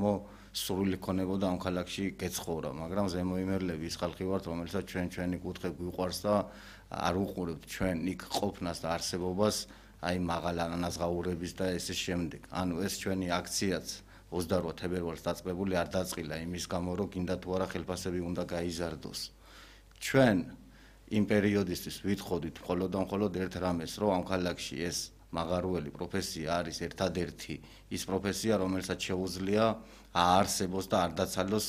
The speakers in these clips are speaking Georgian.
გამო სრული ქონებოდა ამ ქალაქში გეცხოვრა, მაგრამ ზემოიმერლები ის ხალხი ვართ, რომელსაც ჩვენი კუთხე გვიყვარს და არ უყურებთ ჩვენ იქ ყოფნას და არსებობას, აი მაღალ ანაზღაურების და ესე შემდეგ. ანუ ეს ჩვენი აქციაც 28 თებერვალს დაწყებული არ დაწყილა იმის გამო, რომ გინდა თუ არა ხელფასები უნდა გაიზარდოს. ჩვენ იმ პერიოდისთვის ვითხოვდით მხოლოდ ერთ რამეს, რომ ამ ქალაქში ეს მაღარუელი პროფესია არის ერთადერთი ის პროფესია, რომელსაც შეუძლია აარსებოს და არ დაცალოს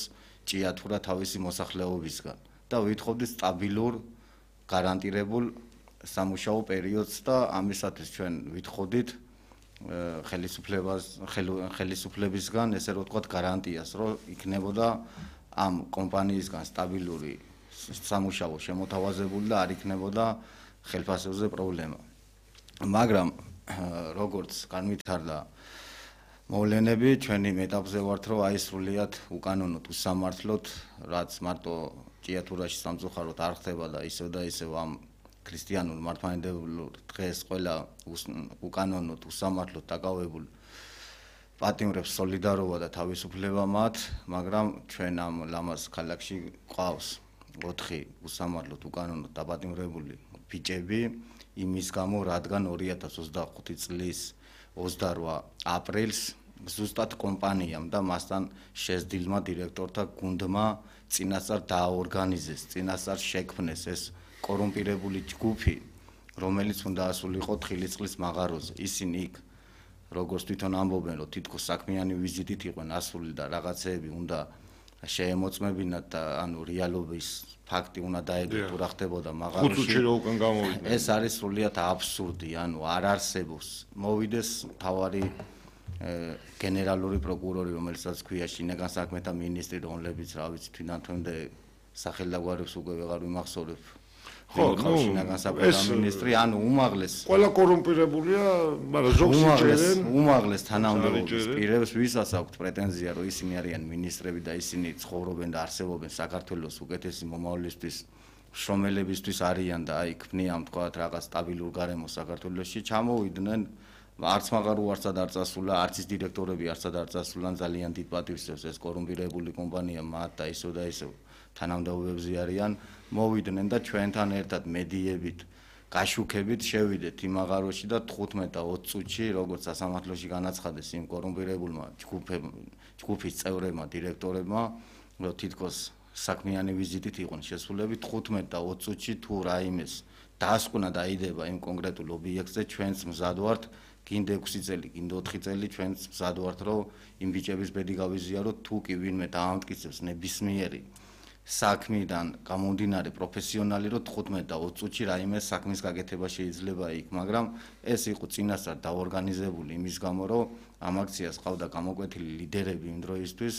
ჭიათურა თავისი მოსახლეობისგან და ვითხოვდით სტაბილურ გარანტირებულ სამუშაო პერიოდს და ამისათვის ჩვენ ვითხოვდით ხელისუფლებისგან ესე რომ ვთქვათ გარანტიას, რომ იქნებოდა ამ კომპანიისგან სტაბილური სამუშაო შემოთავაზებული და არ იქნებოდა ხელფასებზე პრობლემა. მაგრამ როგორც განვითარდა მოვლენები, ჩვენი მეტაპზე ვართ, რომ აი სრულიად უკანონოდ უსამართლოდ, რაც მარტო ჭიათურაში სამწუხაროდ არ ხდება და ისევ და ისევ ამ ქრისტიანულ მართლმადიდებლურ დღეს ყველა უკანონოდ უსამართლოდ დაკავებულ პატიმრებს სოლიდარობა და თავისუფლება მათ, მაგრამ ჩვენ ამ ლამაზ ქალაქში ყავს 4 უსამართლოდ უკანონოდ დაპატიმრებული ბიჭები იმის გამო, რადგან 2025 წლის 28 აპრილს ზუსტად კომპანიამ და მასთან შესდილმა დირექტორთა გუნდმა წინასწარ დააორგანიზეს, წინასწარ შექმნეს ეს კორუმპირებული ჯგუფი, რომელიც უნდა ასულიყო თხილის მაღაროზე. ისინი იქ როგორც თვითონ ამბობენ, რომ თითქოს საქმიანი ვიზიტით იყვნენ ასული და რაღაცეები უნდა შეემოწმებინათ და ანუ რეალობის ფაქტი უნდა დაედოთ თუ რა ხდებოდა მაღაროში. 5 წუთში რო უკან გამოვიდნენ. ეს არის სრულიად აბსურდი, ანუ არ არსებობს. მოვიდეს თავარი გენერალური პროკურორი, რომელსაც ქვია შინაგან საქმეთა მინისტრი, რომლებიც რა ვიცი თვითონ სახელდაგვარებს უკვე ვეღარ ვიმახსოვრებ. ხო, შინაგან საქმეთა მინისტრი, ანუ უმაღლეს ყველა კორუმპირებულია, მაგრამ ზოგს იჭერენ. უმაღლეს თანამდებობის პირებს ვისაც აქვთ პრეტენზია, რომ ისინი არიან მინისტრები და ისინი ცხოვრობენ და არსებობენ საქართველოს უკეთესი მომავლისთვის, შრომელებისთვის არიან და აი ქმნიან თქვათ რაღაც სტაბილურ გარემოს საქართველოში, ჩამოვიდნენ არც მაღარო არცად არ წასულა, არც ის დირექტორები არცად არ წასულან ძალიან დიდ პატივს ეს კორუმპირებული კომპანია მათ და ისევ და ისევ თანამდებობებზე არიან, მოვიდნენ და ჩვენთან ერთად მედიებით გაშუქებით შევიდეთ იმ მაღაროში და 15 და 20 წუთში, როგორც სასამართლოში განაცხადეს იმ კორუმპირებულმა ჯგუფის წევრებმა, დირექტორებმა, რომ თითქოს საქმიანი ვიზიტით იყვნენ შესულები, 15 და 20 წუთში თუ რაიმეს დაასკვნა და აიდება იმ კონკრეტულ ობიექტზე, ჩვენც მზად ვართ, გინდა 6 წელი, გინდა 4 წელი, ჩვენც მზად ვართ, რომ იმ ბიჭების ბედი გავიზიაროთ, თუ კი ვინმე დაამტკიცებს ნებისმიერი საქმიდან გამომდინარე პროფესიონალი, რომ 15 და 20 წუთში რაიმე საქმის გაკეთება შეიძლება იქ, მაგრამ ეს იყო წინასწარ დაორგანიზებული იმის გამო, რომ ამ აქციას ყავდა გამოკვეთილი ლიდერები იმ დროისთვის,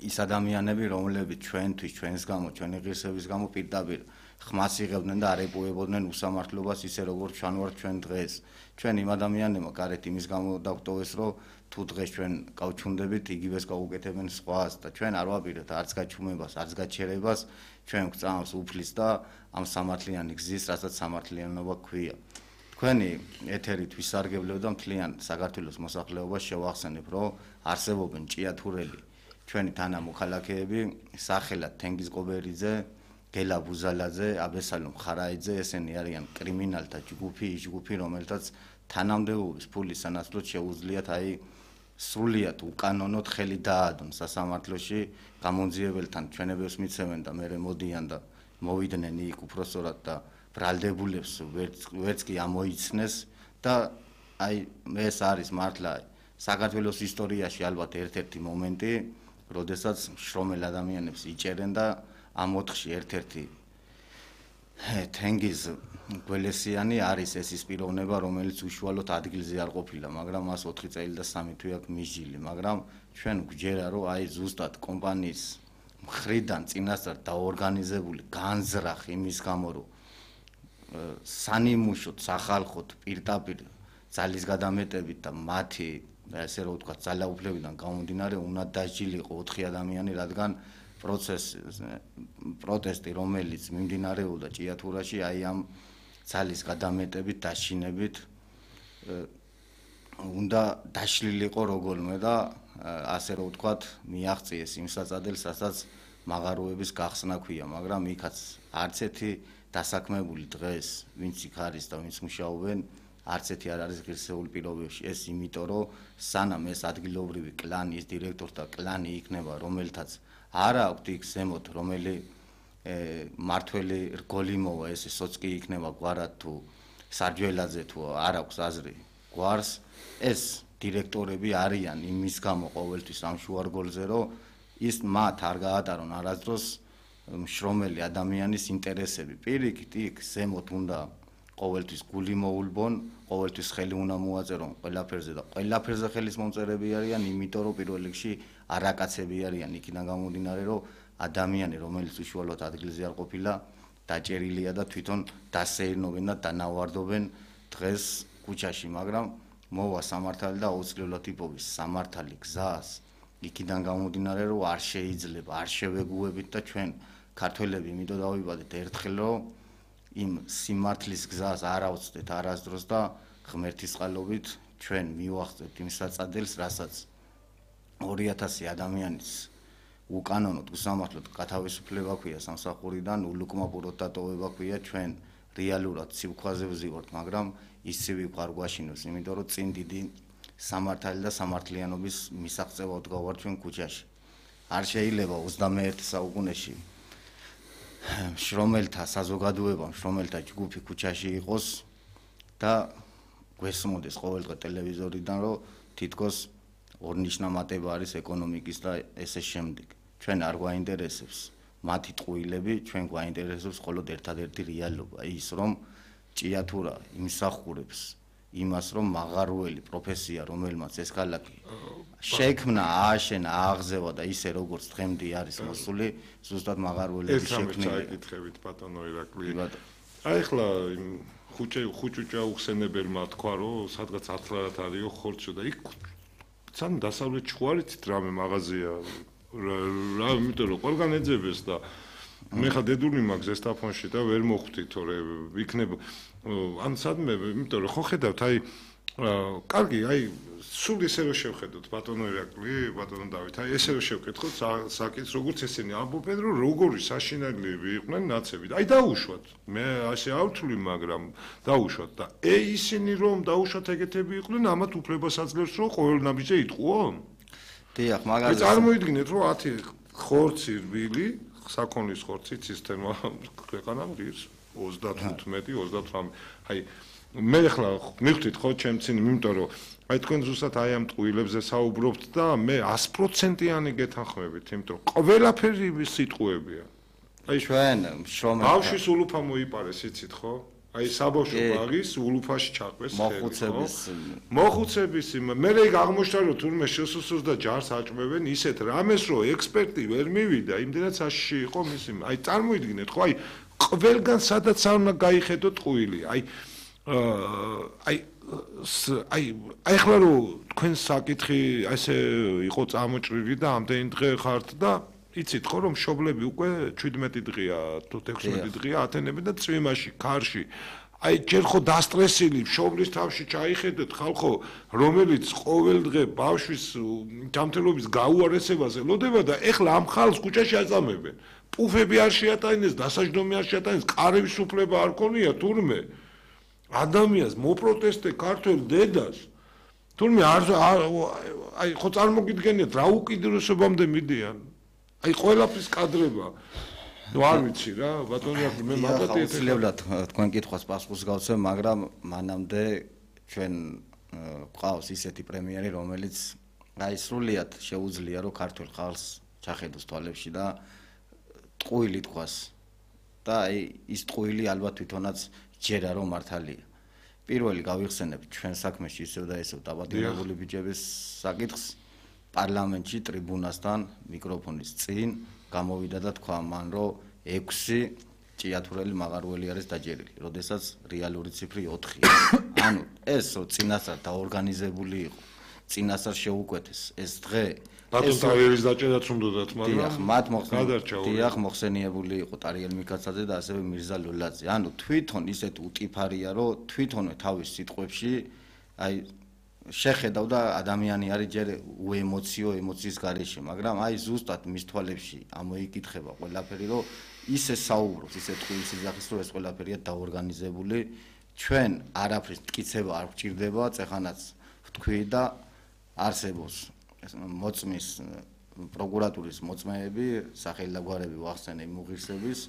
ის ადამიანები, რომლებიც ჩვენთვის, ჩვენს გამო, ჩვენი ღირსების გამო პირდაპირ ხმას იღებდნენ და არ ეპოვებოდნენ უსამართლობას ისე როგორც ჩანვართ ჩვენ დღეს. ჩვენ იმ ადამიანებმა გარეთ იმის გამო დავტოვეს, რომ თუ დღეს ჩვენ გავჩუნდებით, იგივეს გავუკეთებენ სხვას და ჩვენ არ ვაპირებთ არც გაჩუმებას, არც გაჩერებას, ჩვენ გვწამს უფლის და ამ სამართლიანი გზის, რასაც სამართლიანობა ქვია. თქვენი ეთერით ვისარგებლებ და მთლიან საქართველოს მოსახლეობას შევახსენებ, რომ არსებობენ ჭიათურელი ჩვენი თანამოქალაქეები, სახელად თენგიზ ყობერიძე, გელა ბუზალაძე, აბესალომ ხარაიძე, ესენი არიან კრიმინალთა ჯგუფი, რომელთაც თანამდებობის ფულის სანაცვლოდ შეუძლიათ აი სრულიად უკანონოდ ხელი დაადონ სასამართლოში, გამონძიებელთან ჩვენებებს მიცემენ და მერე მოდიან და მოვიდნენ იქ უფროსწორად და ბრალდებულებს ვერც კი ამოიცნეს და აი ეს არის მართლა საქართველოს ისტორიაში ალბათ ერთ-ერთი მომენტი, როდესაც შრომელ ადამიანებს იჭერენ და ამ 4-ში ერთ-ერთი თენგიზ გველესიანი არის ეს ის პიროვნება, რომელიც უშუალოდ ადგილზე არ ყოფილა, მაგრამ მას 4 წელი და 3 თვე აქვს მიჯილი, მაგრამ ჩვენ გვჯერა, რომ აი ზუსტად კომპანიის მხრიდან წინასწარ დაორგანიზებული განზრახ იმის გამო, რომ სანიმუშოდ, სახალხოდ პირდაპირ ძალის გადამეტებით და მათი ესე რომ ვთქვათ, ძალაუფლებიდან გამომდინარე, უნდა დასჯილიყო 4 ადამიანი, რადგან პროტესტი, რომელიც მიმდინარეობდა ჭიათურაში, აი ამ ძალის გადამეტებით, დაშინებით უნდა დაშლილიყო როგორმე და ასე რომ ვთქვათ, მიაღწიეს იმ საწადელს, რასაც მაღაროების გახსნა ქვია, მაგრამ იქაც არც ერთი დასაქმებული დღეს, ვინც იქ არის და ვინც მუშაობენ, არც ერთი არ არის ღირსეული პირობებში. ეს იმიტომ, რომ სანამ ეს ადგილობრივი კლანი, ის დირექტორთა კლანი იქნება, რომელთაც არ აქვს იქ ზემოთ, რომელი მართველი რგოლი მოვა, ეს სოცკი იქნება გვარად თუ სარჯველაძე თუ არ აქვს აზრი გვარს, ეს დირექტორები არიან იმის გამო ყოველთვის ამ შუარგოლზე, რომ ის მათ არ გაატარონ არასდროს მშრომელი ადამიანის ინტერესები. პირიქით იქ ზემოთ უნდა ყოველთვის გული მოულბონ, ყოველთვის ხელი უნდა მოაწერონ ყველაფერზე და ყველაფერზე ხელის მომწერები არიან, იმიტომ რომ პირველ რიგში არაკაცები არიან, იქიდან გამომდინარე, რომ ადამიანი, რომელიც უშუალოდ ადგილზე არ ყოფილა, დაჭერილია და თვითონ დასეირნობენ და დანავარდობენ დღეს ქუჩაში, მაგრამ მოვა სამართალი და აუცილებლად იპოვის სამართალი გზას. იქიდან გამომდინარე, რომ არ შეიძლება, არ შევეგუებით და ჩვენ ქართველები იმიტომ დავიბადეთ ერთხელ, რომ იმ სიმართლის გზას არ ავწდეთ არასდროს და ღმერთის წყალობით ჩვენ მივახცევთ იმ საწადელს, რასაც 2000 ადამიანის უკანონოდ უსამართლოდ გათავისუფლება ქვია სამსახურიდან, ულუკმაპუროდ დატოვება ქვია, ჩვენ რეალურად სივრცეზე ვზივართ, მაგრამ ის სივრცე არ გვაშინოს, იმიტომ რომ წინ დიდი სამართალი და სამართლიანობის მისაღწევად გავართ ჩვენ ქუჩაში. არ შეიძლება 21 საუკუნეში შრომელთა საზოგადოება, შრომელთა ჯგუფი ქუჩაში იყოს და გვესმოდეს ყოველდღე ტელევიზორიდან, რომ თითქოს ორნიშნა მატება არის ეკონომიკის და ესე შემდეგ. ჩვენ არ გვაინტერესებს მათი ტყუილები, ჩვენ გვაინტერესებს მხოლოდ ერთადერთი რეალობა, ის რომ ჭიათურა იმსახურებს იმას, რომ მაღაროელი პროფესია, რომელმაც ეს ქალაქი შექმნა, ააშენა, ააღზევა და ისე როგორც დღემდე არის მოსული, ზუსტად მაღაროელების შექმნილი. ეკითხებით ბატონო ირაკლი. აი ხლა ხუჭუჭა უხსენებელმა თქვა, რომ სადღაც ათლარად არისო ხორცო და იქ სამ დასავლეთ ჩხوارიცით რამე მაღაზია რა იმიტომ რომ ყველგან ეძებეს და მე ხა დედული მაქვს ზესტაფონში და ვერ მოხვდი თორე იქნება ან სადმე იმიტომ რომ ხო ხედავთ აი კარგი აი სულ ისე რომ შევხედოთ ბატონო ირაკლი ბატონო დავით აი ესე რომ შევკითხოთ საკითხს როგორც ესენი ამბობენ რომ როგორი საშინაკლები იყვნენ ნაცები აი დაუშვათ მე ასე ავთვლი მაგრამ დაუშვათ და ისინი რომ დაუშვათ ეგეთები იყვნენ ამათ უფლებას აძლევს რომ ყოველ ნაბიჯზე იტყუო დიახ მაგალითად წარმოიდგინეთ რომ 10 ხორცი რბილი საქონლის ხორცი ცისტერმა ქვეყანამ ღირს 35-38 აი მე ხლა მივხვდით ხო ჩემცინი იმიტომ რომ აი თქვენ ზუსტად აი ამ ტყუილებზე საუბრობთ და მე 100%-იანი გეთანხმებით იმიტომ რომ ყველაფერი სიტყვებია აი ჩვენ შრომელი ბავშვის ულუფა მოიპარეს იცით ხო აი საბავშვო ბაღის ულუფაში ჩაყვეს მოხუცების მე ეგ აღმოჩნდა რომ თურმე შესუსურს და ჯარს აჭმევენ ისეთ რამეს რომ ექსპერტი ვერ მივიდა იმდენად საშიში იყო მისი აი წარმოიდგინეთ ხო აი ყველგან სადაც არ უნდა გაიხედო ტყუილი აი ხლა რომ თქვენ საკითხი ესე იყო წამოჭრილი და ამდენი დღე ხართ და იცით ხო რომ მშობლები უკვე 17 დღეა თუ 16 დღეა ათენები და წვიმაში ქარში აი ჯერ ხო დასტრესილი მშობლის თავში ჩაიხედეთ ხალხო რომელიც ყოველ დღე ბავშვის ჯანმრთელობის გაუარესებაზე ლოდება და ეხლა ამ ხალხს ქუჩაში აწამებენ პუფები არ შეატანეს დასაჯდომი არ შეატანეს ყარების უფლება არ ქონია თურმე ადამიანს მოპროტესტე ქართულ დედას თურმე აი ხო წარმოგიდგენიათ რა უკიდურესობამდე მიდიან აი ყველაფრის კადრება ნუ არ ვიცი რა ბატონი აქ მე მაგათი ეთევლად თქვენ კითხვას პასუხს გავცემ მაგრამ მანამდე ჩვენ ყავს ისეთი პრემიერი რომელიც აი სრულიად შეუძლია რომ ქართულ ხალხს ჩახედოს თვალებში და ტყუილი თქვას და აი ის ტყუილი ალბათ თვითონაც ჯერა რომ მართალია პირველი გავიხსენებ ჩვენ საქმეში ისევ და ესევ დაბადებული ბიჭების საკითხს პარლამენტში ტრიბუნასთან მიკროფონის წინ გამოვიდა და თქვა მან რომ 6 ჭიათურელი მაღაროელი არის დაჯერილი, როდესაც რეალური ციფრი 4-ია. ანუ ეს წინასწარ დაორგანიზებული იყო. წინასწარ შეუკვეთეს ეს დღე ბატონ ტარიელის დაჭერაც უნდათ, მაგრამ მათ მოხსენიებული იყო ტარიელ მიკაცაძე და ასევე მირზა ლოლაძე. ანუ თვითონ ისეთ უტიფარია, რომ თვითონვე თავის სიტყვებში აი შეხედავ და ადამიანი არის ჯერ ემოციის გარეშე, მაგრამ აი ზუსტად მის თვალებში ამოიკითხება ყველაფერი, რომ ისე საუბრობს, ისე ტყუილს იძახის, რომ ეს ყველაფერია დაორგანიზებული, ჩვენ არაფრის მტკიცება არ გვჭირდება, წეხანაც ვთქვი და არსებობს მოწმის პროკურატურის მოწმეები, სახელი და გვარები ვახსენე იმ უღირსების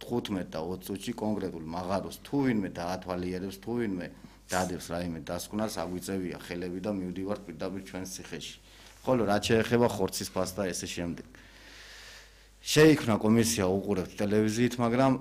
15 და 20 წუთში კონკრეტულ მაღაროს თუ ვინმე დაათვალიერებს, თუ ვინმე დადებს რაიმე დასკვნას, აგვიწევია ხელები და მივდივართ პირდაპირ ჩვენს ციხეში. ხოლო რაც შეეხება ხორცის ფასს და ესე შემდეგ. შეიქმნა კომისია უყურებთ ტელევიზიით, მაგრამ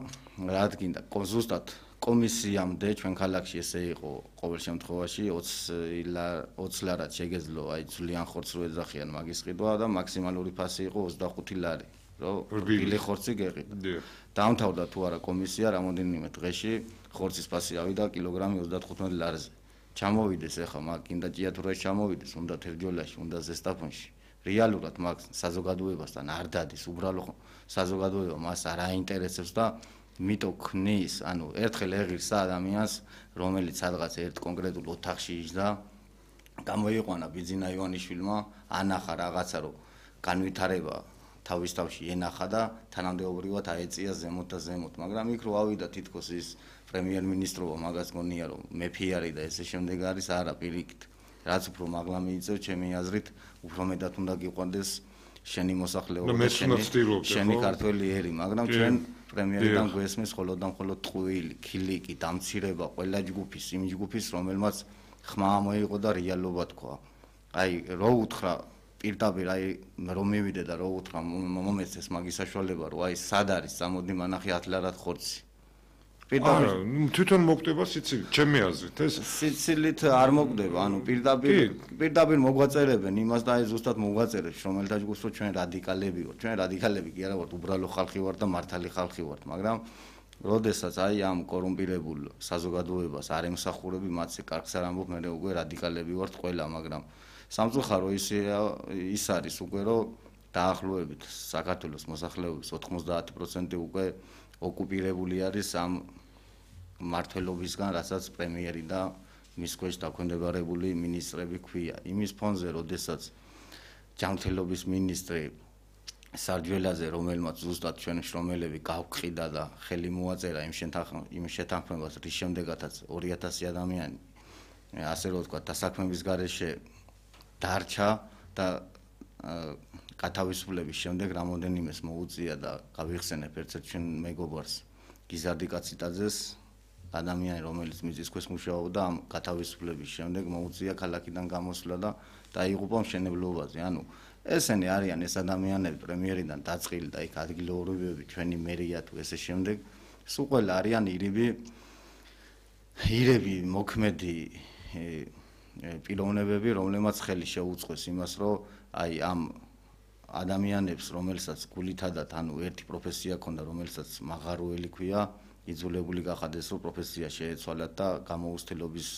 რა გინდა, ზუსტად კომისიამდე ჩვენ ქალაქში ესე იყო ყოველ შემთხვევაში 20 ლარად შეგეძლო აი ძვლიან ხორცს რო ეძახიან მაგის ყიდვა და მაქსიმალური ფასი იყო 25 ლარი, რომ რბილი ხორცი გეყიდა. დაამთავრდა თუ არა კომისია რამოდენიმე დღეში ხორცის ფასი ავიდა კილოგრამი 35 ლარზე. ჩამოვიდეს ახლა მაგ კიდე ჭიათურაში ჩამოვიდეს, უნდა თერჯოლაში, უნდა ზესტაფონში. რეალურად მაგ საზოგადოებასთან არ დადის, უბრალოდ საზოგადოება მას არ აინტერესებს და მიტო ქნის, ანუ ერთხელ ეღირს ადამიანს, რომელიც სადღაც ერთ კონკრეტულ ოთახში იჯდა, გამოიყვანა ბიძინა ივანიშვილმა, ანახა რაღაცა, რომ განვითარება თავის თავში ენახა და თანამდებობრივად აეწია ზემოთ და ზემოთ, მაგრამ იქ რო ავიდა თითქოს ის პრემიერ-მინისტრობა მაგას გონია რომ მეფე არის და ესე შემდეგ არის, არა პირიქით. რაც უფრო მაღლა მიიწევ, ჩემი აზრით, უფრო მეტად უნდა გიყვანდეს შენი მოსახლეობა და შენი ქართველი ერი, მაგრამ ჩვენ პრემიერიდან გვესმის მხოლოდ და მხოლოდ ტყუილი, ქილიკი, დამცირება ყველა ჯგუფის, იმ ჯგუფის, რომელმაც ხმა მოიღო და რეალობა თქვა. აი, რო უთხრა პირდაპირ აი რომ მივიდე და რო უთხრა მომეცეს მაგის საშუალება, რომ აი სად არის, წამოდი მანახი 10 ლარად ხორცი. თვითონ მოკვდება სიცილით, ჩემი აზრით ეს სიცილით არ მოკვდება, ანუ პირდაპირ მოგვაწერებენ იმას და აი ზუსტად მოგვაწერებს, რომელთა ჯგუფს რო ჩვენ რადიკალები ვართ. ჩვენ რადიკალები კი არა ვართ, უბრალო ხალხი ვართ და მართალი ხალხი ვართ, მაგრამ როდესაც აი ამ კორუმპირებულ საზოგადოებას არ ემსახურები, მათზე კარგს არ ამბობ, მე უკვე რადიკალები ვართ ყველა, მაგრამ სამწუხარო ის არის უკვე რომ დაახლოებით საქართველოს მოსახლეობის 90% უკვე ოკუპირებული არის ამ მართლობისგან, რასაც პრემიერი და მის ქვეშ დაქვემდებარებული მინისტრები ქვია. იმის ფონზე, როდესაც ჯანმრთელობის მინისტრი სარჯველაძე, რომელმაც ზუსტად ჩვენ შრომელები გავყიდა და ხელი მოაწერა იმ შეთანხმებას, რის შემდეგაც 2000 ადამიანი, ასე რომ ვთქვათ, დასაქმების გარეშე დარჩა და გათავისუფლების შემდეგ რამოდენიმეს მოუწია და გავიხსენებ ერთ-ერთ ჩვენ მეგობარს გიზარდი კაციტაძეს, ადამიანი, რომელიც მიწის ქვეშ მუშაობდა, ამ გათავისუფლების შემდეგ მოუწია ქალაქიდან გამოსვლა და დაიღუპა მშენებლობაზე. ანუ ესენი არიან ეს ადამიანები პრემიერიდან დაწყილი და იქ ადგილობრივები, ჩვენი მერია თუ ესე შემდეგ, სულ ყველა არიან ირები მოქმედი პიროვნებები, რომლებმაც ხელი შეუწყოს იმას, რომ აი ამ ადამიანებს, რომელსაც გულითადად, ანუ ერთი პროფესია ქონდა, რომელსაც მაღაროელი ქვია, იძულებული გახადეს, რომ პროფესია შეეცვალათ და გამოუცდელობის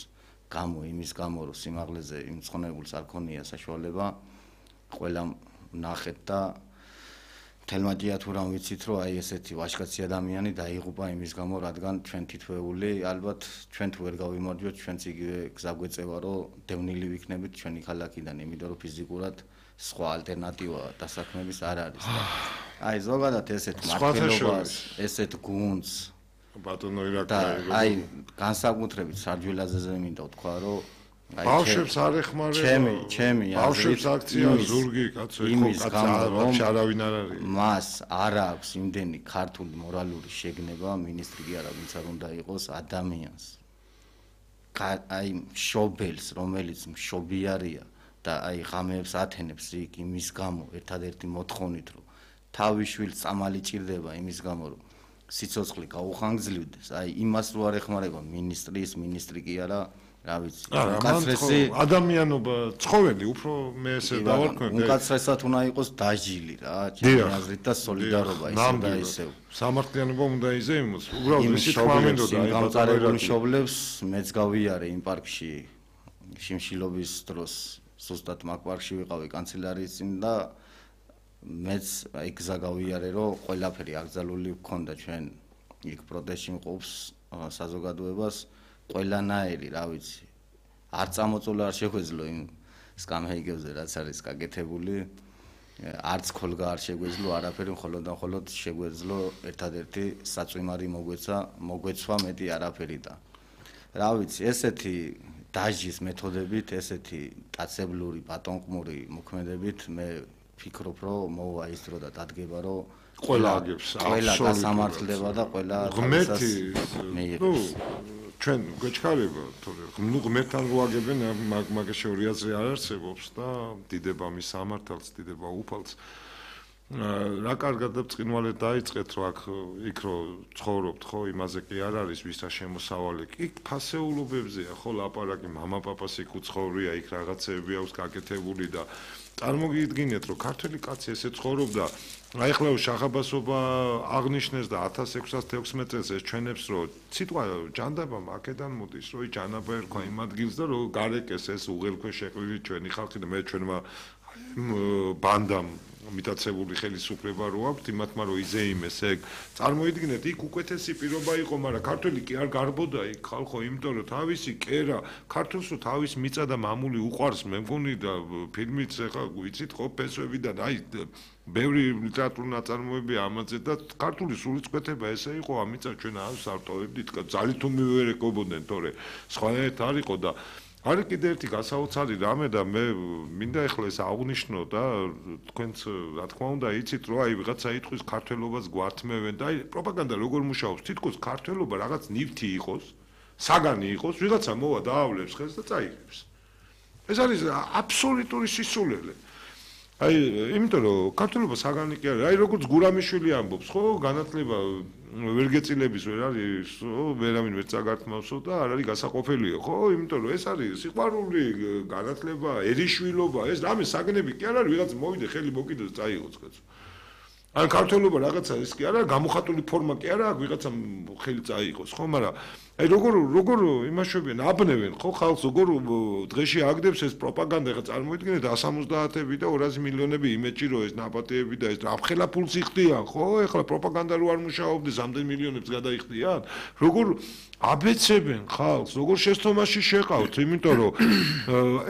გამო, იმის გამო, რომ სიმაღლეზე იმ მწყნებულს არ ქონია საშუალება, ყველამ ნახეთ და თელმა ჭიათურამ ვიცით, რომ აი ესეთი ვაჟკაცი ადამიანი დაიღუპა იმის გამო, რადგან ჩვენ თითოეული, ალბათ ჩვენ თუ ვერ გავიმარჯვებთ, ჩვენც იგივე გზა გვეწევა, რომ დევნილი ვიქნებით ჩვენი ქალაქიდან, იმიტომ რომ ფიზიკურად სხვა ალტერნატივა დასაქმების არ არის. აი ზოგადად ესეთ მართლობას, ესეთ გუნდს ბატონო ირაკლი, აი განსაკუთრებით სარჯველაძეზე მინდა ვთქვა, რომ აი ბავშვებს არ ეხმარება, ჩემი ბავშვებს აქცია ზურგი კაცო, კაცი არავინ არ არის. მას არ აქვს იმდენი ქართული მორალური შეგნება, მინისტრი კი არა, ვინც არ უნდა იყოს ადამიანს. აი მშობელს, რომელიც მშობიარია და აი ღამეებს ათენებს იქ იმის გამო, ერთადერთი მოთხოვნით, რომ თავის შვილს წამალი ჭირდება იმის გამო, რომ სიცოცხლე გაუხანგძლივდეს, აი იმას რო არ ეხმარება მინისტრი კი არა, რა ვიცი, უკაცრესი ადამიანობა, ცხოველი, უფრო მე ესე დავარქვენ. უკაცრესად უნდა იყოს დაჟილი რა, ჩემი აზრით და სოლიდარობა ისე და ისე. სამართლიანობა უნდა იზეიმოს, უბრალოდ ისე თქმა მინდოდა აი გამწარებულ მშობლებს მეც გავიარე იმ პარკში შიმშილობის დროს, ზუსტად მაგ პარკში ვიყავი კანცელარიის წინ და მეც აი გზა გავიარე, რომ ყველაფერი აკრძალული გქონდა ჩვენ იქ პროტესტში მყოფს საზოგადოებას ყველანაირი, რა ვიცი, არ წამოწოლა არ შეგვეძლო იმ სკამჰეიგებზე რაც არის გაკეთებული არც ქოლგა არ შეგვეძლო არაფერი მხოლოდ შეგვეძლო ერთადერთი საწვიმარი მოგვეცვა მეტი არაფერი და რა ვიცი ესეთი დაჟის მეთოდებით ესეთი ტაცებლური პატონყმური მოქმედებით მე ფიქრობ რომ მოვა ის დრო და დადგება რომ ყველა აგებს ყველა გასამართლდება და ყველა ღმერთი ჩვენ გვეჩქარება თორე ღმერთთან რო აგებენ მაგას შორი აზრი არ არსებობს და დიდება მის სამართალს დიდება უფალს რა კარგად და ბრწყინვალედ დაიწყეთ რომ აქ იქ რო ცხოვრობთ ხო იმაზე კი არ არის ვისა შემოსავალი კი ფასეულობებზეა ხო ლაპარაკი მამაპაპას იქ უცხოვრია იქ რაღაცეები აქვს გაკეთებული და წარმოგიდგინეთ რომ ქართველი კაცი ესე ცხოვრობდა აი ახლა შახაბასობა აღნიშნეს და 1616 წელს ეს ჩვენებს რომ სიტყვა ჯანდაბა აქედან მოდის რომ ჯანაბა ერქვა იმ ადგილს და რომ გარეკეს ეს უღელქვე შეყვილი ჩვენი ხალხი და მე ჩვენმა ბანდამ მიტაცებული ხელისუფლება რო აქვს იმათმა რომ იზეიმეს ეგ წარმოიდგინეთ იქ უკეთესი პირობა იყო მაგრამ ქართველი კი არ გარბოდა იქ ხალხო იმიტომ რომ თავისი კერა ქართულს რო თავის მიწა და მამული უყვარს მე მგონი და ფილმიც ახლა ვიცით ხო ფესვებიდან აი ბევრი ლიტერატურული ნაწარმოებია ამაზე და ქართული სულიწყვეტება ესე იყო ამიცა ჩვენ არ ვსარტოვებდით ძალით თუ მივერეკობოდნენ თორე სხვანაირად არ იყო და არის კიდე ერთი გასაოცარი რამე და მე მინდა ახლა ეს აღნიშნო და თქვენც რა თქმა უნდა იცით რომ აი ვიღაცა იტყვის ქართველობას გვართმევენ და აი პროპაგანდა როგორ მუშაობს თითქოს ქართველობა რაღაც ნივთი იყოს საგანი იყოს ვიღაცა მოვა დაავლებს ხელს და წაიღებს ეს არის აბსოლუტური სისულელე აი იმიტომ რომ ქართველობა საგანი კი არის აი როგორც გურამიშვილი ამბობს ხო განათლება ვერ გეწილების ვერ არის ვერავინ ვერ წაგართმავსო და არ არის გასაყოფილიო ხო იმიტომ რომ ეს არის სიყვარული განათლება ერიშვილობა ეს რამე საგნები კი არ არის ვიღაც მოვიდე ხელი მოკიდოს წაიღოს კაცო ან ქართველობა რაღაცა ის კი არა გამოხატული ფორმა კი არა ვიღაცამ ხელი წაიღოს ხო მაგრამ აი როგორ იმაშვებიან აბნევენ ხო ხალხს როგორ დღეში აგდებს ეს პროპაგანდა ხა წარმოიდგინეთ 170-ები და 200 მილიონები იმეჭი რომ ეს ნაპატეები და ეს რამხელა ფულს იხდიან ხო ეხლა პროპაგანდა რო არ მუშაობდეს ამდენ მილიონებს გადაიხდიან როგორ აბეცებენ ხალხს როგორ შეცდომაში შეყავთ იმიტომ რომ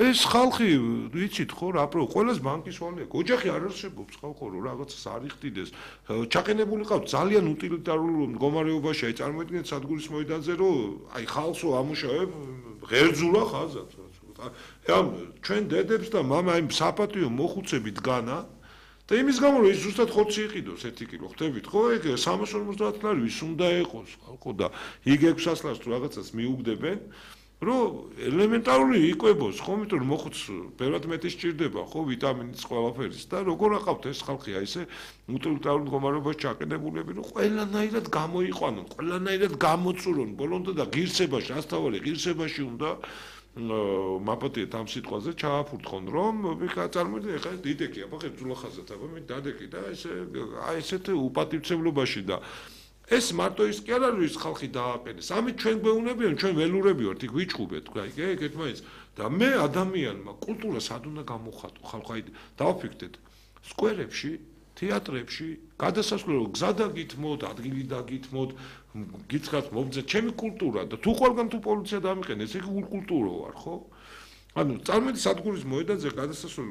ეს ხალხი ვიცით ხო რა პრო ყველას ბანკის ვალია ოჯახი არ არსებობს ხალხო რომ რაღაცას არ იხდიდეს ჩაყენებული ყავთ ძალიან უტილიტარულ მდგომარეობაში აი წარმოიდგინეთ სადგურის მოედანზე რომ აი ხალხო ამუშავებ ღერძულა ხაზად ამ ჩვენ დედებს და მამა აი საპატიო მოხუცები დგანა და იმის გამო რომ ის ზუსტად ხოცი იყიდოს 1 კილო ხდებით ხო ეგ 350 ლარი ვის უნდა ეყოს ხალხო და იქ 600 ლარს თუ რაღაცას მიუგდებენ რომ ელემენტარული იკვებოს ხო იმიტომ რომ მოხუც ბევრად მეტი სჭირდება ხო ვიტამინის ყველაფერის და როგორ აყავთ ეს ხალხი აი ესე უტილიტარულ მდგომარეობაში ჩაყენებულები რომ ყველანაირად გამოიყვანონ ყველანაირად გამოწურონ ბოლომდე და ღირსებაში ასთავარი ღირსებაში უნდა მაპატიეთ ამ სიტყვაზე ჩააფურთხონ რომ წარმოიდგინე ხა დიდეკია ხო ხერწულახაზად აბა მე დადეკი და ესე აი ესეთ უპატივცემლობაში და ეს მარტო ის კი არ არის ის ხალხი დააყენეს ამით ჩვენ გვეუბნებიან ჩვენ ველურები ვართ იქ ვიჭუბეთ თქვა იქ ერთმანეთს და მე ადამიანმა კულტურა სად უნდა გამოხატო ხალხო აი დავაფიქრდეთ სკვერებში თეატრებში გადასასვლელო გზა დაგითმოთ ადგილი დაგითმოთ გიცხათ მომძეთ ჩემი კულტურა და თუ ყველგან თუ პოლიცია დამიყენეს ეგ კულტურა ვარ ხო ანუ წარმოიდგინე სადგურის მოედანზე გადასასვლელ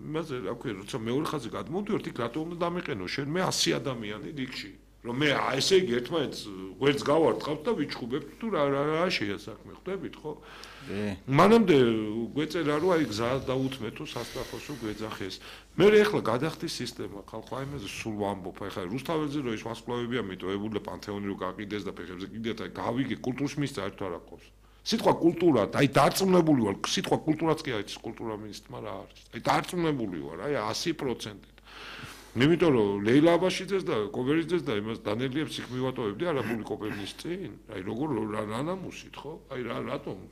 იმაზე რა ქვია როცა მეორე ხაზზე გადმოვდივართ იქ რატო უნდა დამიყენო შენ მე 100 ადამიანი რიგში რომ მე ესე იგი ერთმანეთს გვერდს გავარტყავთ და ვიჩხუბებთ თუ რა შეასაქმე ხვდებით ხო მანამდე გვეწერა რომ აი გზა დაუთმეთო სასწრაფოსო გვეძახეს მე ახლა გადახდის სისტემა ხალხო აი მეზე სულ ვამბობ ახლა რუსთაველზე რომ ის ვასკლავებია მიტოვებული და პანთეონი რო გაყიდეს და ფეხებზე კიდეთ აი გავიგე კულტურის მინისტრს არ თუ არ აკობს სიტყვა კულტურა აი დარწმუნებული ვარ სიტყვა კულტურაც კი არის კულტურა მინისტრმა რა არის აი დარწმუნებული ვარ აი 100% იმიტომ რომ ლეილა აბაშიძეს და კობერიძეს და იმას დანელიებს იქ მივატოვებდი არაბული კოპერნის წინ აი როგორ რა ნამუსით ხო აი რატომ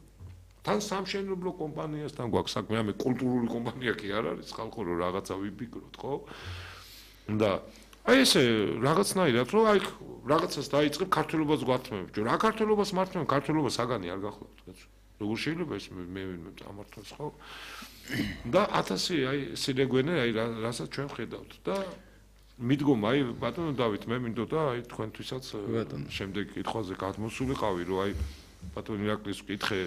თან სამშენებლო კომპანიასთან გვაქვს საქმე ამე კულტურული კომპანია კი არ არის ხალხო რომ რაღაცა ვიფიქროთ ხო და აი ესე რაღაცნაირად რომ აი რაღაცას დაიწყებ ქართულობას გვართმევთ რა ქართულობას მართმევ ქართულობა საგანი არ გახლავთ კაცო როგორ შეიძლება ეს მე ამართოს ხო და 1000 აი სილეგვენე აი რასაც ჩვენ ხედავთ და მიდგომა აი ბატონო დავით მე მინდოდა აი თქვენთვისაც შემდეგ კითხვაზე გადმოსულიყავი რომ აი ბატონო ირაკლის კითხე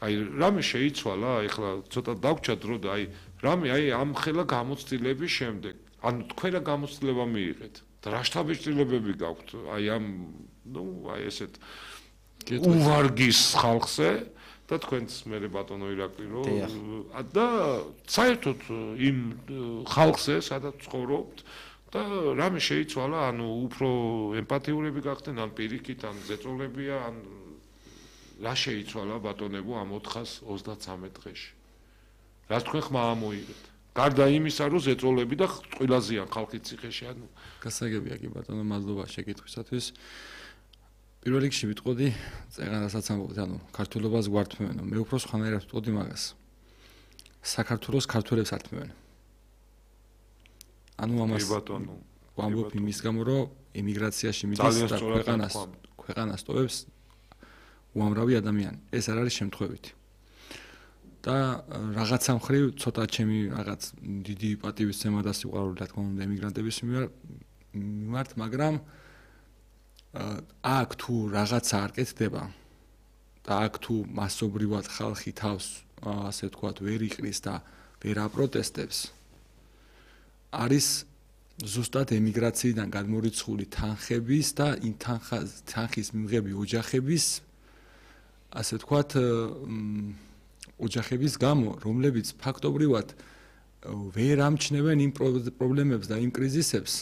აი რამე შეიცვალა, ეხლა ცოტა დავჭა დრო და აი რამე აი ამ ხელა გამოცდილების შემდეგ, ანუ თქვენ რა გამოცდილება მიიღეთ და რა შთაბეჭდილებები გაქვთ აი ამ აი ესეთ უვარგის ხალხზე და თქვენს მე ბატონო ირაკლი რომ და საერთოდ იმ ხალხზე სადაც ცხოვრობთ და რამე შეიცვალა, ანუ უფრო ემპათიურები გახდნენ, ან პირიქით, ან ზეწოლებია, ან რა შეიცვალა ბატონებო ამ 433 დღეში. რა თქვენ ხმა ამოიღეთ? გარდა იმისა, რომ ზეწოლები და წყვილაზიან ხალხის ციხეში, ანუ გასაგებია კი ბატონო, მადლობა შეკითხვისათვის. პირველ რიგში ვიტყოდი წეღანასაც ამბობთ, ანუ ქართულობას გვართმევენო. მე უფრო სხვანაირად ვიტყოდი მაგას. საქართველოს ქართველებს ართმევენ. ანუ ამას ვამბობ იმის გამო, რომ ემიგრაციაში მიდის და ქვეყანას ტოვებს უამრავი ადამიანი. ეს არ არის შემთხვევითი. და რაღაცა მხრივ ცოტა ჩემი რაღაც დიდი პატივისცემა და სიყვარული რა თქმა უნდა ემიგრანტების მიმართ, მაგრამ აქ თუ რაღაცა არ კეთდება და აქ თუ მასობრივად ხალხი თავს ასე ვთქვათ ვერ იყრის და ვერ აპროტესტებს, არის ზუსტად ემიგრაციიდან გადმორიცხული თანხების და იმ თანხის მიღები ოჯახების ასე ვთქვათ ოჯახების გამო, რომლებიც ფაქტობრივად ვერ ამჩნევენ იმ პრობლემებს და იმ კრიზისებს,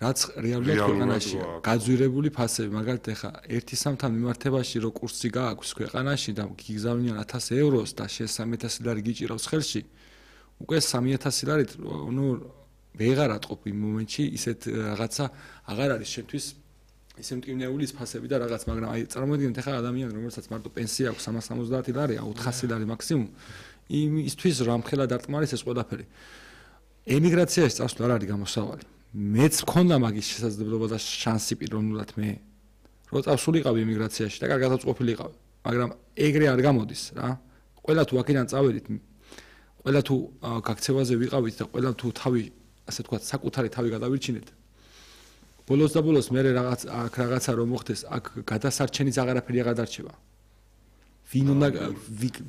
რაც რეალურად ქვეყანაშია. გაძვირებული ფასები, მაგალითად ახლა ერთი სამთან მიმართებაში რო კურსი გააქვს ქვეყანაში და გიგზავნიან 1000 ევროს და შენ 3000 ლარი გიჭირავს ხელში, უკვე 3000 ლარით ნუ ვეღარ ატყობ იმ მომენტში ისეთ რაღაცა აღარ არის შენთვის ისე მტკივნეული ფასები და რაღაც, მაგრამ აი წარმოიდგინეთ ახლა ადამიანი რომელსაც მარტო პენსია აქვს 370 ლარი, 400 ლარი მაქსიმუმ, იმისთვის რომ ამხელა დარტყმარის ეს ყველაფერი. ემიგრაციაში წასვლა არ არის გამოსავალი. მეც მქონდა მაგის შესაძლებლობა და შანსი პიროვნულად მე რო წავსულიყავი ემიგრაციაში და კარგად უწყობილიყავი, მაგრამ ეგრე არ გამოდის რა. ყველა თუ აქედან წავედით, ყველა თუ გაქცევაზე ვიყავით და ყველა თუ თავი ასე ვთქვათ საკუთარი თავი გადავირჩინეთ. ბოლოს და ბოლოს მე რაღაცა რომ მოხდეს, აქ გადასარჩენის აღარაფერი აღარ დარჩება.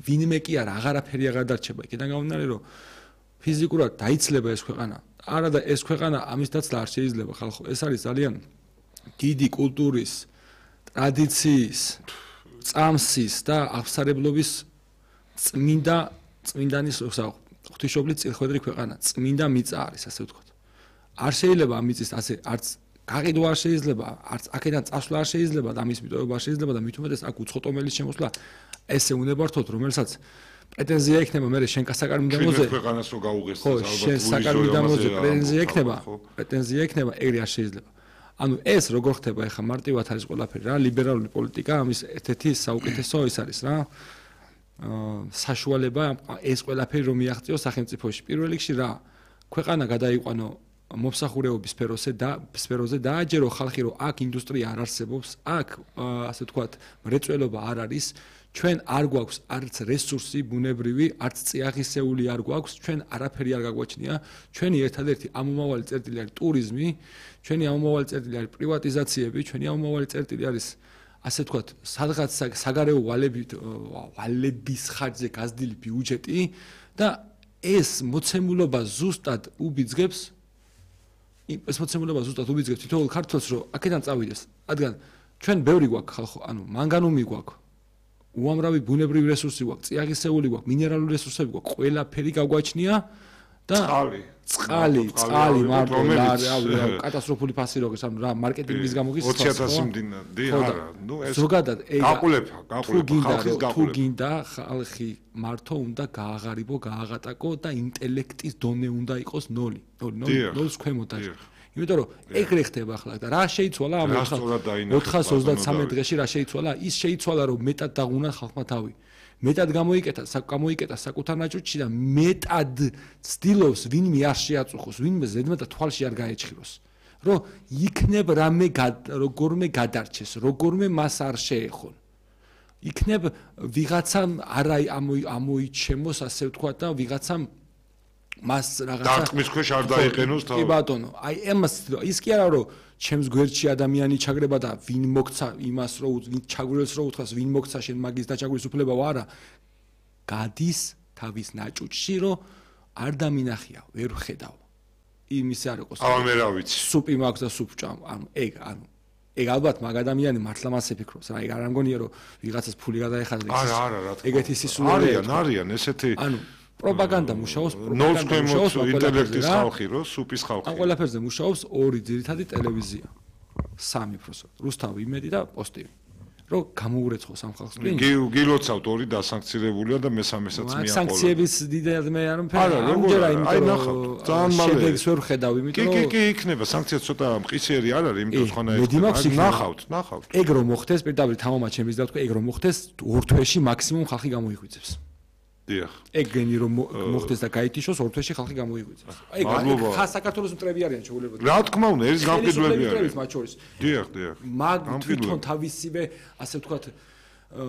ვინმე კი არა, აღარაფერი აღარ დარჩება. იქიდან გამომდინარე, რომ ფიზიკურად დაიცლება ეს ქვეყანა. არა და ეს ქვეყანა ამის დაცლა არ შეიძლება ხალხო. ეს არის ძალიან დიდი კულტურის, ტრადიციის, წამსის და აღსარებლობის წმინდანის ღვთისმშობლის წილხვედრი ქვეყანა, წმინდა მიწა არის, ასე ვთქვათ. არ შეიძლება ამ მიწის ასე არც გაყიდვა არ შეიძლება, არც აქედან წასვლა არ შეიძლება და ამის მიტოვება არ შეიძლება და მით უმეტეს აქ უცხოტომელის შემოსვლა ესე უნდა ვართოთ, რომელსაც პრეტენზია ექნება მე შენ საკარმიდამოზე ქვეყანას რო გაუღეს ალბათ შენ საკარმიდამოზე პრეტენზია ექნება, ეგრე არ შეიძლება. ანუ ეს როგორ ხდება ახლა მარტივად არის ყველაფერი რა, ლიბერალური პოლიტიკა ამის ერთ-ერთი საუკეთესო ის არის რა. საშუალება ეს ყველაფერი რომ მიაღწიოს სახელმწიფოში. პირველ რიგში რა, ქვეყანა გადაიყვანო მომსახურეობის სფეროზე დააჯერო ხალხი, რომ აქ ინდუსტრია არ არსებობს, აქ ასე ვთქვათ მრეწველობა არ არის, ჩვენ არ გვაქვს არც რესურსი ბუნებრივი, არც წიაღისეული არ გვაქვს, ჩვენ არაფერი არ გაგვაჩნია, ჩვენი ერთადერთი ამომავალი წერტილი არის ტურიზმი, ჩვენი ამომავალი წერტილი არის პრივატიზაციები, ჩვენი ამომავალი წერტილი არის ასე ვთქვათ სადღაც საგარეო ვალების ხარჯზე გაზრდილი ბიუჯეტი და ეს მოცემულობა ზუსტად უბიძგებს თითოეულ ქართველს, რომ აქედან წავიდეს, რადგან ჩვენ ბევრი გვაქვს ხალხო, ანუ მანგანუმი გვაქვს, უამრავი ბუნებრივი რესურსი გვაქვს, წიაღისეული გვაქვს, მინერალური რესურსები გვაქვს, ყველაფერი გაგვაჩნია და წყალი მარტო კატასტროფული ფასი როგორც ანუ რა მარკეტინგის გამო გისწრებს 20000 მდინარე არა ნუ ეს ზოგადად გაყოლება თუ გინდა ხალხი მარტო უნდა გააღარიბო, გააღატაკო და ინტელექტის დონე უნდა იყოს 0 0-ს ქვემოთ არის. იმიტომ რომ ეგრე ხდება ახლა და რა შეიცვალა ამ 433 დღეში რა შეიცვალა? ის შეიცვალა რომ მეტად დაღუნა ხალხმა თავი. მეტად გამოიკეთა საკუთარ ნაჭუჭში და მეტად ცდილობს ვინმე არ შეაწუხოს, ვინმე ზედმეტად თვალში არ გაეჭხიროს. რომ იქნებ როგორმე გადარჩეს, როგორმე მას არ შეეხონ. იქნებ ვიღაცამ არა ამოიჩემოს, ასე ვთქვათ და ვიღაცამ მას რაღაცა დარტყმის ქვეშ არ დაიყენოს თავი. კი ბატონო, აი ამას ის კი არა რომ ჩემს გვერდში ადამიანი ჩაგრება და ვინ მოგცა იმას რომ ვინ ჩაგვირელს რომ უთხრას ვინ მოგცა შენ მაგის დაჩაგვრის უფლებაო არა. გადის თავის ნაჭუჭში რომ არ დამინახია, ვერ ხედავ. იმისი არ იყოს. აბა მე რა ვიცი. სუპი მაქვს და სუპ ჭამ. ეგ ალბათ მაგ ადამიანი მართლა მას ეფიქრობს რა. ეგ არ ამგონია რომ ვიღაცას ფული გადაეხადა. არა, რა თქმა უნდა. ეგეთი სისულელეა. არიან ესეთი პროპაგანდა მუშაობს, პროპაგანდა მუშაობს ინტელექტის ხალხი რო სუპის ხალხი. ამ ყველაფერზე მუშაობს ორი ძირითადი ტელევიზია. სამი პროსო. რუსთავი, იმედი და პოსტივი. რომ გამოურეცხოს ამ ხალხს ტვინი. გილოცავთ ორი დასანქცირებულია და მესამესაც მიაყოლა. სანქციების დიდად მე არ მფერია. ამჯერა აი ნახავთ. ძალიან მალე. შედეგს ვერ ხედავ, იმიტომ რომ კი, იქნება სანქცია ცოტა მყისიერი არ არის, იმიტომ ხანაა. ნახავთ. ეგ რომ მოხდეს, პირდაპირ თამამად შემიძლია ვთქვა, ეგ რომ მოხდეს, ორ თვეში მაქსიმუმ ხალხი გამოიღვიძებს. დიახ. ეგ გენი რომ მოხდეს და გაითიშოს ორ თვეში ხალხი გამოიღვიძებს. ეგ ხა საქართველოს მტრები არიან შეულებოდ. რა თქმა უნდა, ეს გამყიდვები არიან. მათ შორის. დიახ. მაგ თვითონ თავისივე, ასე ვთქვათ,